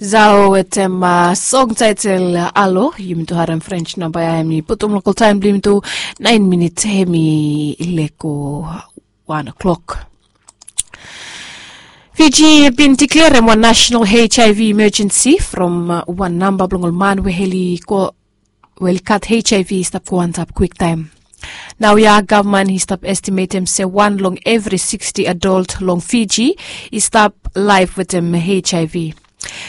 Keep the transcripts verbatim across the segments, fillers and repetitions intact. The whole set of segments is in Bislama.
Zao wetem song taitel alo yumi tu harem french namba ya em i putum lokal taim blong yumi tu nain minit em i leko wan o'klok. Fiji bin diklerem wan national hiv emergency from wan namba blong ol man we heli go we oli gat hiv i stap go antap kwiktaim. Nao ya gavman i stap estimetem se wan long evri sixty adult long fiji i stap laif wetem hiv.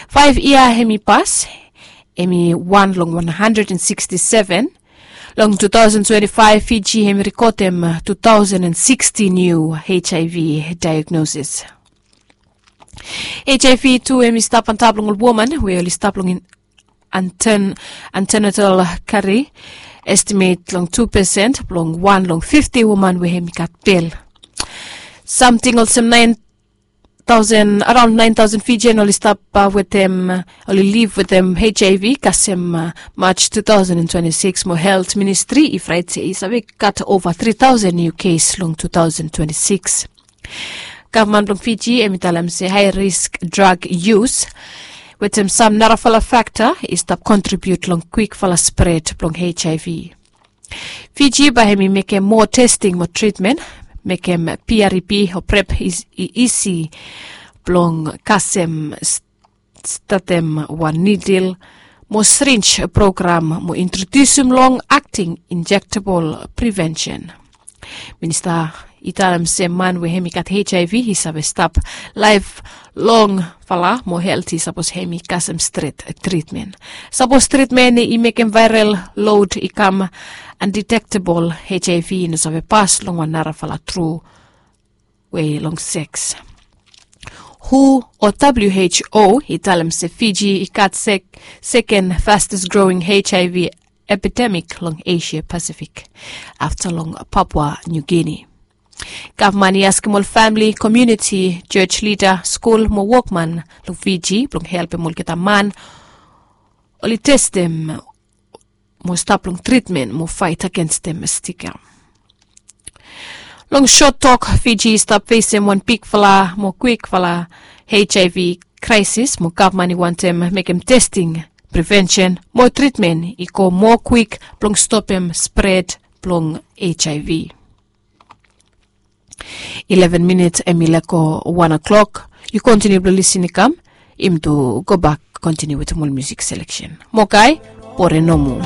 Faif yia hem i pas, hem i wan long wan handred and sixty seven. Long two thousand twenty five fiji hem i rekodem two thousand and sixty niu hiv diagnosis. Hiv tu hem i stap antap long ol woman we oli stap long antenatal kari, estimet long two pesen blong wan long fifti woman we hem i gat bel. Samting olsem nain taosen araon nain taosen fijian oli stap wetem oli liv wetem hiv kasem maj two thousand and twenty six mo helt ministri i fraet se i save gat ova tri taosen niu kes long two thousand twenty six. Gavman blong fiji hem i talem se hae risk drag yus wetem sam narafala fakta i stap kontribiut long kwikfala spret blong hiv. Fiji bae hem i mekem moa testing mo tritmen, mekem prep o prep i isi blong kasem statem wan nidil mo srinj program mo introdiusim long akting injektebol prevensen. Minista i talem se man we hem i gat hiv i save stap laef longfala mo helti sapos hem i kasem stret tritmen. Sapos tritmen i mekem vaerel lod i kam andetektebol hiv i no save pas long wan narafala tru we long seks. Hu o who i talem se fiji i gat seken fastes growing hiv epidemik long asia pasifik afta long papua niu gini. Gavman i askem ol famili komiuniti, jos lida, skul mo wokman long fiji blong helpem olgeta man oli testem mo stap long tritmen mo faet agenstem stika. Long sot tok, fiji i stap fesem wan bigfala mo kwikfala hiv kraesis mo gavman i wantem mekem testing, prevensen mo tritmen i go moa kwik blong stopem spret blong hiv. Ileven minit hem i leko wan o'klok. Yu kontiniu blong lisin i kam. Yumi tu gobak kontiniu wetem ol musik seleksen. Mokai, bore nomo.